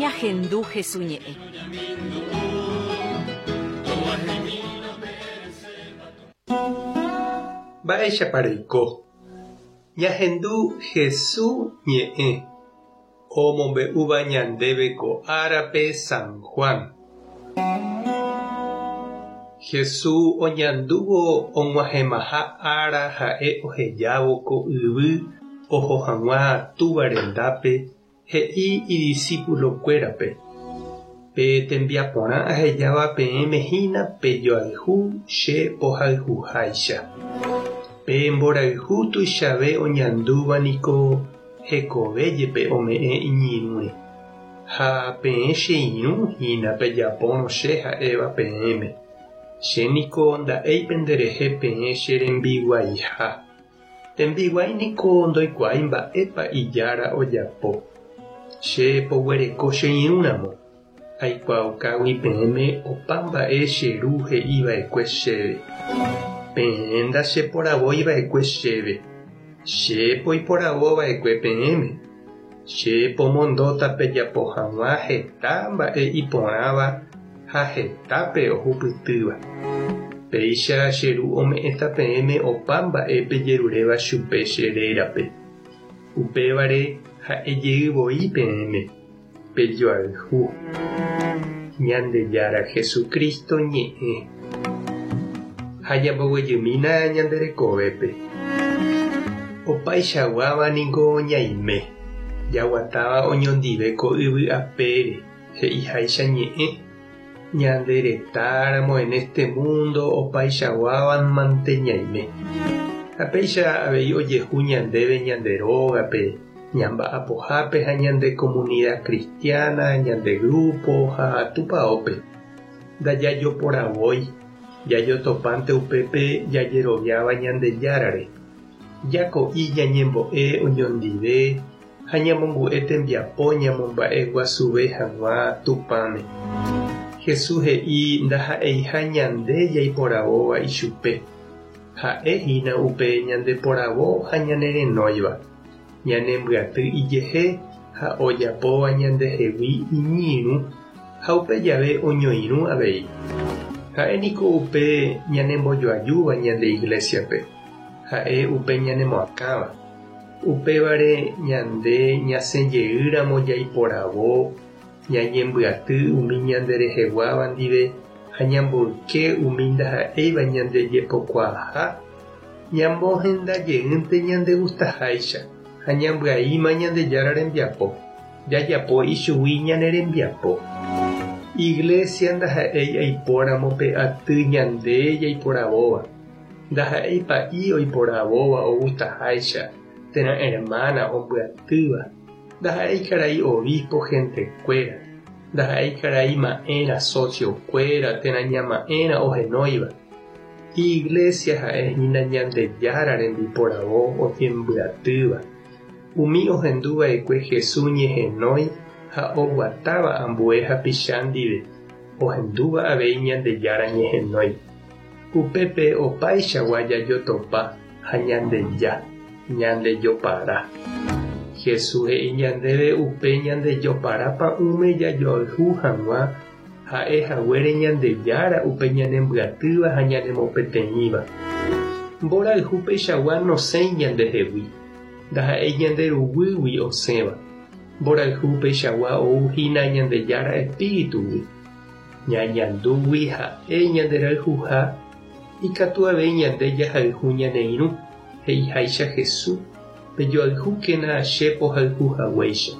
Ñahendu Hesu ñe'ẽ. Mba'éichapa reiko? Ñahendu Hesu ñe'ẽ omombe'úva ñandéve ko árape San Juan. Hesu oñandúvo og̃uahẽmaha ára ha'e ohejávo ko yvy oho hag̃ua Túva rendápe He'i idisípulokuérape, Pe tembiaporã ahejáva peẽme hína pejoayhu che pohayhuháicha. Pe mborayhu tuichave oñandúva niko hekove jepe ome'ẽ iñirũre. Ha peẽ che irũ hína pejapórõ che ha'éva peẽme. Che niko nda'éi penderehe peẽ che rembiguaiha. Tembiguái niko ndoikuaái mba'épa ijára ojapo. Che poguereko che irũ ramo, aikuaaukágui peẽme opa mba'e che Ru he'i va'ekue chéve. Peẽ ndacheporavói va'ekue chéve, che poiporavo va'ekue peẽme. Che pomondóta pejapo hag̃ua heta mba'e iporãva ha hetápe ohupytýva. Péicha che Ru ome'ẽta peẽme opa mba'e pejeruréva chupe che rérape. Upévare ha'e jey voi peẽme, pejoayhu. Ñandejára Jesucristo ñe'ẽ. Ha ñamboguejymína ñande rekovépe. Opaichaguáva ningo ñaime, jaguatáva oñondive ko yvy apére, he'iháicha ñe'ẽ, ñande retáramo en este mundo opaichaguáva mante ñaime. Ha péicha avei ojehu ñandéve ñande rógape, ñamba'apohápe ha ñande comunidad cristiana, ñande grupo ha tupaópe. Ndajajoporavói, jajotopánte upépe jajeroviáva Ñandejárare. Jako'i ñañembo'e oñondive ha ñamongu'e tembiapo ñamomba'eguasuve hag̃ua Tupãme. Jesús he'i ndaha'eiha ñande jaiporavóva ichupe, ha'e hína upe ñandeporavo ha ñanerenóiva, ñanembyaty ijehe ha ojapóva ñandehegui iñirũ ha upe jave oñoirũ avei. Ha'e niko upe ñanembojoajúva ñande Iglésiape, ha'e upe ñanemoakãva. Upévare ñande ñasẽ jeýramo jaiporavo, ñañembyaty umi ñande reheguáva ndive ha ñamboyke umi ndaha'éiva ñande jepokuaaha, ñamohenda jeýnte ñandegustaháicha ha ñambyaíma Ñandejára rembiapo, jajapo ichugui ñane rembiapo. Iglesia ndaha'éi aipóramo pe aty ñande jaiporavóva. Ndaha'éi pa'i oiporavóva ogustaháicha térã ermána ombyatýva, ndaha'éi karai obispo hentekuéra, ndaha'éi karai ma'ẽra socio-kuéra térã ñama'ẽra ohenóiva. Iglesia ha'e hína Ñandejára rembiporavo oñembyatýva, umi ohenduva'ekue Jesús ñehenói ha oguatáva ambue hapicha ndive, ohendúva avei Ñandejára ñehenói. Upépe opaichagua jajotopa ha ñandeja, ñandejopara. Jesús he'i ñandéve upe ñandejopara pa'ũme jajoayhu hag̃ua ha'e haguére Ñandejára upe ñanembyatýva ha ñanemopeteĩva. Mborayhu peichagua nosẽi ñandehegui, ndaha'éi ñande ruguýgui osẽva. Mborayhu peichagua ou hína Ñandejára espíritugui. Ñañandúgui ha'e ñanderayhuha, ikatu avei ñande jahayhu ñane irũ, he'iháicha Jesús, Pejoayhúkena che pohayhu haguéicha.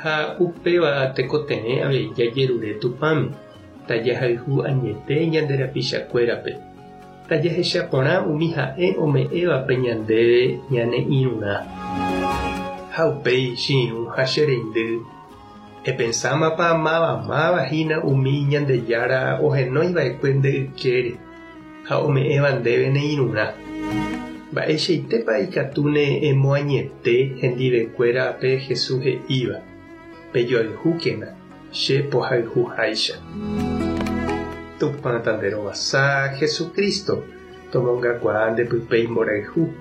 Ha upéva tekotevẽ avei jajerure Tupãme, tajahayhu añete ñande rapichakuérape, tajahecha porã umi ha'e ome'ẽvape ñandéve ñane irũrã. Ha upéi che irũ ha che reindy, Epensámapa máva máva hína umi Ñandejára ohenói va'ekue nde ykére ha ome'ẽva ndéve ne irũrã? Mba'eichaitépa ikatúne emoañete hendivekuéra pe Jesús he'íva, Pejoayhúkena, che pohayhuháicha. Tupã tanderovasa, Jesucristo, tomongakuaa nde pype imborayhu.